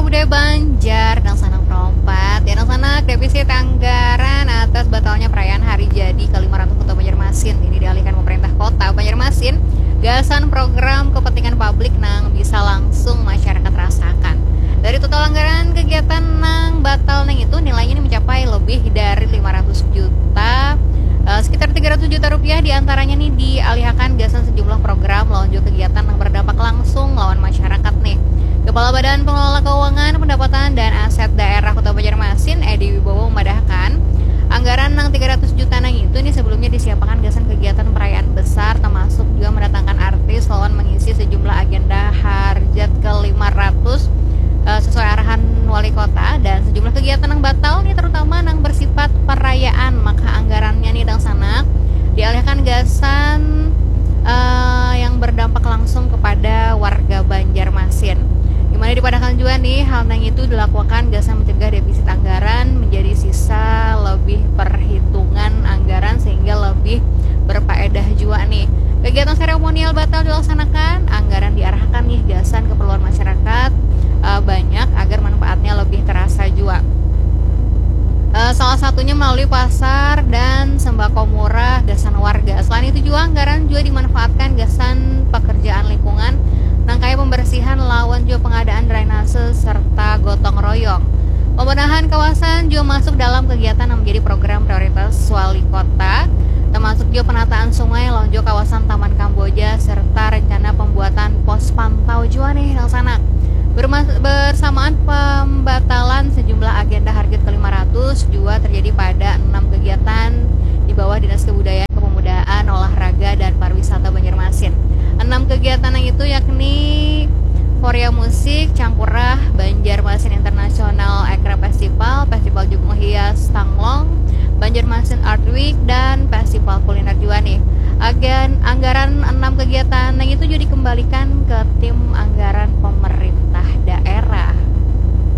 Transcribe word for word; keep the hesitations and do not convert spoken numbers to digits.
Budaya Banjar, dangsanak perompat. Ya, dangsanak, defisit anggaran atas batalnya perayaan hari jadi ke lima ratus Kota Banjarmasin ini dialihkan pemerintah Kota Banjarmasin gasan program kepentingan publik nang bisa langsung masyarakat rasakan. Dari total anggaran kegiatan nang batal nang itu, nilainya ini mencapai lebih dari lima ratus juta, eh, sekitar tiga ratus juta rupiah diantaranya nih dialihakan gasan sejumlah program lawan juga kegiatan yang berdampak langsung lawan masyarakat nih. Kepala Badan Pengelola Keuangan, Pendapatan, dan Aset Daerah Kota Banjarmasin, Edi Wibowo, memadahkan, anggaran nang tiga ratus juta nang itu nih sebelumnya disiapakan gasan kegiatan perayaan besar, termasuk juga mendatangkan artis lawan mengisi sejumlah agenda harjat ke lima ratus, eh, sesuai arahan wali kota, dan sejumlah kegiatan yang batal nih, terutama nang bersifat perayaan, maka anggarannya nih, dangsanak, dialihkan gasan, eh, yang berdampak langsung kepada warga Banjarmasin. Di mana dipadahkan jua nih, hal nang itu dilakukan gasan mencegah defisit anggaran menjadi sisa lebih perhitungan anggaran sehingga lebih berfaedah jua nih. Kegiatan seremonial batal dilaksanakan, anggaran diarahkan nih gasan keperluan masyarakat, eh, banyak agar manfaatnya lebih terasa jua. Eh, salah satunya melalui pasar dan sembako murah gasan warga. Selain itu jua, anggaran jua dimanfaatkan gasan pekerjaan lingkungan, nang kaya pembersihan lawan jua pengadaan drainase serta gotong royong. Pembenahan kawasan jua masuk dalam kegiatan yang menjadi program prioritas wali kota, termasuk jua penataan sungai lawan jua kawasan Taman Kamboja serta rencana pembuatan pos pantau jua nih, dangsanak. Bermas-, bersamaan pembatalan sejumlah agenda harjat ke lima ratus jua terjadi pada enam kegiatan di bawah Dinas Kebudayaan, Kepemudaan, Olahraga, dan Pariwisata Banjarmasin. Enam kegiatan yang itu yakni Korea Musik, Cangkurah, Banjarmasin International Aircraft Festival, Festival Jukung Hias Tanglong, Banjarmasin Art Week, dan Festival Kuliner jua nih. Agen, anggaran enam kegiatan yang itu juga dikembalikan ke tim anggaran pemerintah.